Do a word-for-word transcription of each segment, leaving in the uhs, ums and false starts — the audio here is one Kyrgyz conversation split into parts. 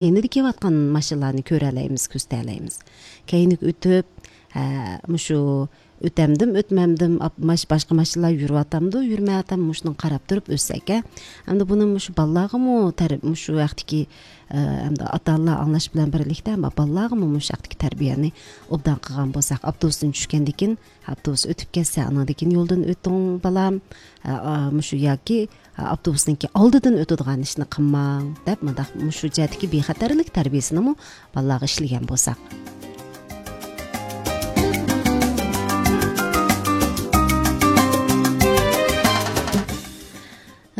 эни кеп аткан машиналарны көрө алайбыз, көздөй алайбыз. Кийинки өтүп, мушу өтөмдүм, өтмөмдүм, башка машиналар жүрүп атамды, жүрмөй атам, мушуну карап туруп өссөк, э. Анда буну мушу баллагымы, мушу актики анда ата-аналар аңлаш менен бирликте, ама баллагымы мушу актики тарбияны обдан кылган болсак, автобустун түшкөндөн кийин, автобус өтүп кетсе, анан кийин жолдон өтүң балам, мушу яки автобустун алдыдан өтөдүган ишни кылмаң деп, мындай мушу жадыки бейхатарлык тарбиясыны балага иштеген болсак.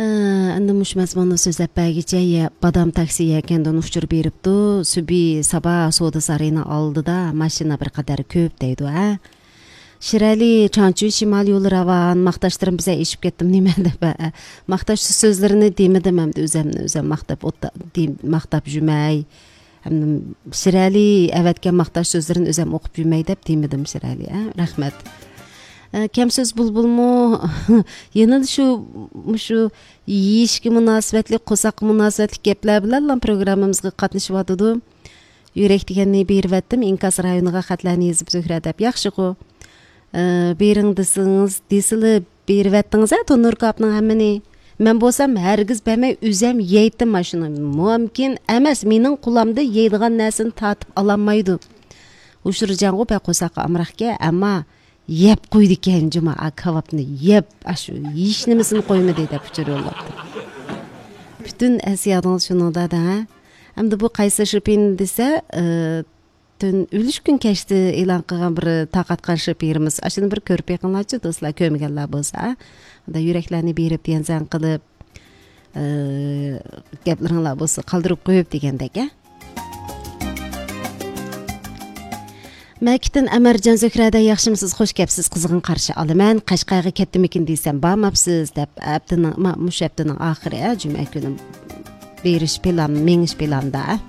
Анда муш мазмунду сөздөп байгиче бадам такси экенден учур берипту. Сүби Саба соода сарайынын алдыда машина бир кадар көп дейди, а. Ширали Чанчу Шимал жолу раван макташтырым бизе ишип кеттим неме деп. Макташ сөздөрүнү демедим, эмди өзүмнү өзүм мактап мактап жүрмөй. Ширали эветке макташ сөздөрүн өзүм окуп жүрмөй деп демедим Ширали, а. Рахмет. Кем сөз булбулму? Эне ушу мушу ийишке мунасабатлык, косак мунасабатлык кеплер менен программабызга катнашып атыды. Юрек дегенни берип аттым. Инкас районуга катларны езип Зөһрә деп. Жакшы го. Бериң десеңиз, десиле берип аттыңыз, а Тонур капның хаммени. Мен болсам һәргиз бермей өзем йейтим машина. Мөмкин эмес, менин куламды йейдиган нерсени татып аламайды. Ушур жаңго бе косакка амракке, ама еп койду экен жума, а кабапны еп, ашу иш немесин коймо дейт деп чөрөлөптү. Бүтүн эсиядыңыз шунуда да. Эмди бу кайсы шипин десе, түн үлүш күн кечти элан кылган бир такаткан шипирimiz. Ашыны бир көрүп экенлачы достlar, көмөгөнлөр болса, анда юреклерни берип дензен кылып, кеплериңлар болсо калдырып коюп дегендек, э. Мәкитин Әмәрҗан Зөһрәдә яхшымысыз, хош кепсиз, кызыгын каршы алыман. Кашкайга кеттим экен десем, бармапсыз деп, аптының, муш аптының ахыры, жума күнү бериш план, меңиш планда.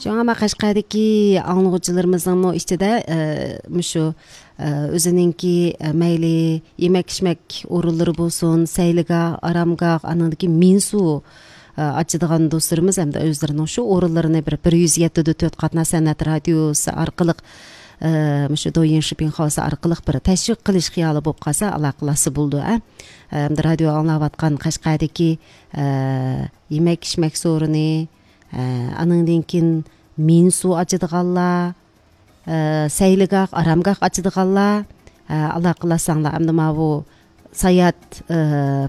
Жаңа ма Кашкайдагы аңлыгычыларыбыздын ичинде мушу өзүнүнки мейли эмек-ишмек орунлары болсун, сайлыга, арамга, анандагы минсу ачыдыган досторубуз эмди өздөрүнүн ушу орунларына бир бир жүз жети төрт катна санат радиосу аркылык мушу Доин Шипин Хаус аркылык бир ташвик кылыш кыялы болуп калса, алакыласы болду, а. Эмди радио аңлап аткан Кашкайдагы эмек-ишмек сооруну, андан кийин минсу ачыдыганлар, сайлыгак, арамгак ачыдыганлар, алакыласаңлар, эмди мабу саят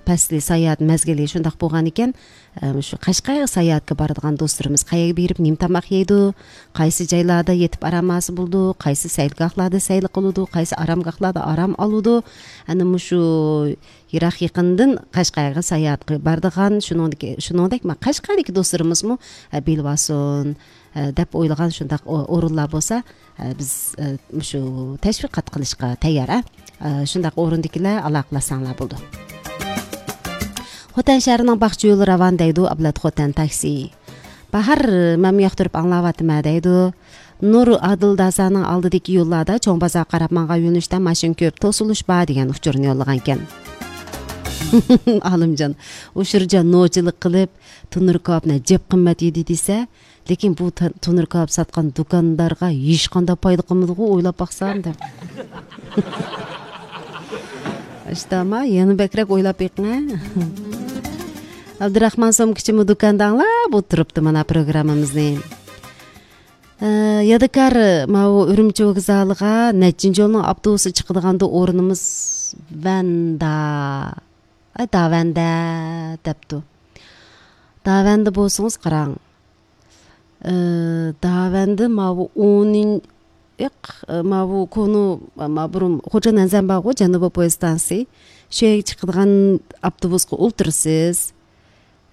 пасли саят мезгили шундак болгон экен. Ушу Кашкайга саятка бардыган досторубуз каяга берип нем тамак жейди, кайсы жайларда етип арамасы болду, кайсы сайлгакларда сайлык кылууду, кайсы арамгакларда арам алууду. Аны мушу Ирак якындын Кашкайга саятка бардыган шунундак шунундак Кашкайдагы досторубузму билип алсын деп ойлаган шундак орунлар болсо, биз мушу ташвикат кылышка таяр, а. Шундак орундукилер алакыласаңлар болду. Хотан шаарынын бакчы жолу раван дейди Аблат Хотан такси. Бахар мем яктырып аңлап атыма дейди. Нур Адылдасанын алдыдагы жолларда чоң базар карап манга юнуштан машин көп, тосулушпа деген учурун жоллаган экен. Алымжан, ушуржан ноочулук кылып, Тонур капны жеп кымбат еди десе, лекин бу Тонур кап саткан дукандарга эч кандай пайда кылмады го, ойлоп баксам деп. Аштама, яны бекрек ойлап экиң, а. Абдурахман сом кичими дуканда аңлап отурупту мына программабызды. Ядыкар мау Үрүмчү вокзалыга нечинчи жолдун автобусу чыккыдыганда орунубуз Ванда. Ай Даванда депту. Даванда болсоңуз караң. Даванда мау он эк мау кону мабурум Хочанан Замбагы Жаныбы поезд станциясы шеге чыккыдыган автобуска олтурсуз.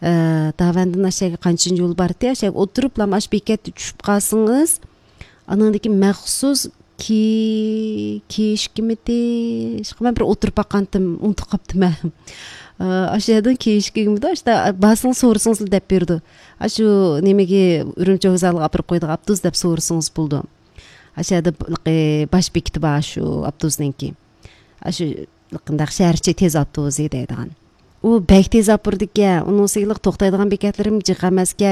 Давандын ашеге канча жол бар те, ашеге отуруп ламаш бекетти түшүп калсаңыз, анан кийин махсус ки кешкимити, шкама бир отуруп акантым, унутуп каптым. Ашедан кешкимити, ашта басың соорусуңуз деп берди. Ашу немеге Үрүмчү вокзалыга апарып койдук автобус деп соорусуңуз болду. Ашада баш бекити бар ашу автобусненки. Ашу кандай шаарчы тез автобус дейдиган. у бәк тез алып барды экен. Унусу ылык токтойдуган бекетлерим жык эмеске.